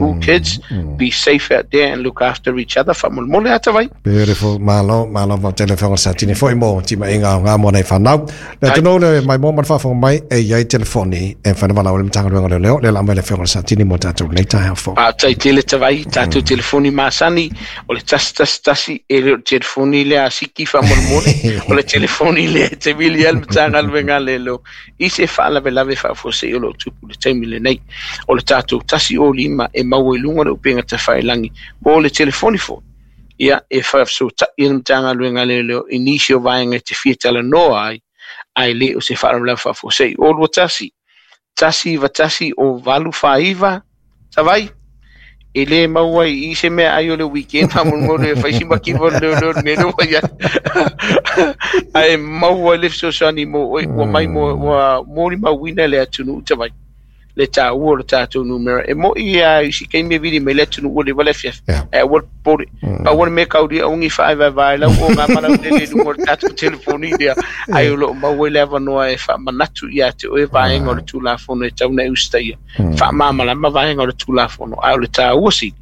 School kids, be safe out there and look after each other. Faamolemole ata vai. Beautiful. Malo, malo faafetai le Afioga i le Satini foi mo timaiga o ngā mo nei whanau. Le atu le mai mo mana whaafonga mai e iai telefoni e whana wala o le Matagaluega o Leoleo le la mai le Afioga i le Satini mo tātou nei taeao fou. Faafetai tele Tavai, tatou telefoni masani o le 111 e le o le telefoni lea a Siki faamolemole, o le telefoni lea e te vili ai le Matagaluega a Leoleo i se faalavelave faafuasei o lo o tupu i le taimi lenei. O le tatou 105 e maua i luga o le upega tafailagi po o le telefoni foi ia e faafesootai ai le Matagaluega a Leoleo i nisi o vaega e te fia talanoa ai, ae le o se faalavelave faafuasei. O 21 191 o 849 Tavai, e le maua ai i se mea ai o le weekend faamolemole e fai si makifa o le leoleo le mea lea ua i ai. Ae maua ai le fesoasoani mo oe ua mai mo ua molimauina le atunuu Tavai le taua o le tatou numera. E mo'i lava i si taimi e vili mai le atunuu ua leva le afiafi. Ae aua le popole. Pau o le mea kaulia aua ne i faavaevae lau o ngā malaulele i luga o le tatou telefoni lea, ae o lo o maua ai le avanoa e faamanatu ia te oe vaega o le Tulafono e tatau ona e usitaia. Faamalamalama vaega o le Tulafono, ae o le taua sili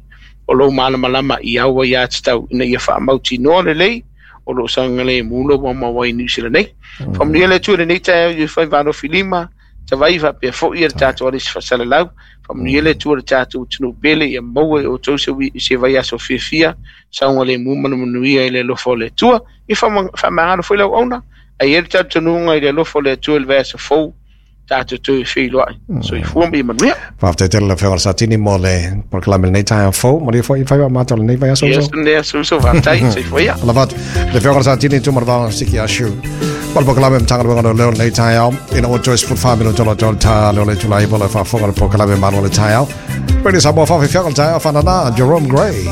o lou malamalama i au aiatatau ina ia faamautinoa lelei o lo o saogalemu lou aumau ai i Niu Sila nei. Faamanuia le Atua i lenei taeao i Faiva Alofilima, Tavai faapea foi le tatou alisi faasalalau. Faamanuia le Atua i le tatou atunuu pele, ia maua e outou se vaiaso fiafia, saogalemu ma le manuia i le alofa o le Atua. Ia faamagalo foi lau auauna, ae i ai le talitonuga i le alofa o le Atua i le vaiaso fou, tatou toe feiloai. Soifua ma ia manuia. Faafetai tele le Afioga i le Satini mo le polokalame lenei taeao fou. Manuia foi faiva matou lenei vaiaso uso. Yes, ne uso, faafetai, soifua ia. Lava atu. Le Afioga i le Satini Tuimalealiifano Siki Ah Sue. Ma le polokalame Matagaluega o Leoleo lenei taeao. Ina ua toe 14 minuta o le ta leo le itula 9 o le faafofoga le polokalame Malu o le taeao. Radio Samoa faafefiaga o le taeao fanana Jerome Gray.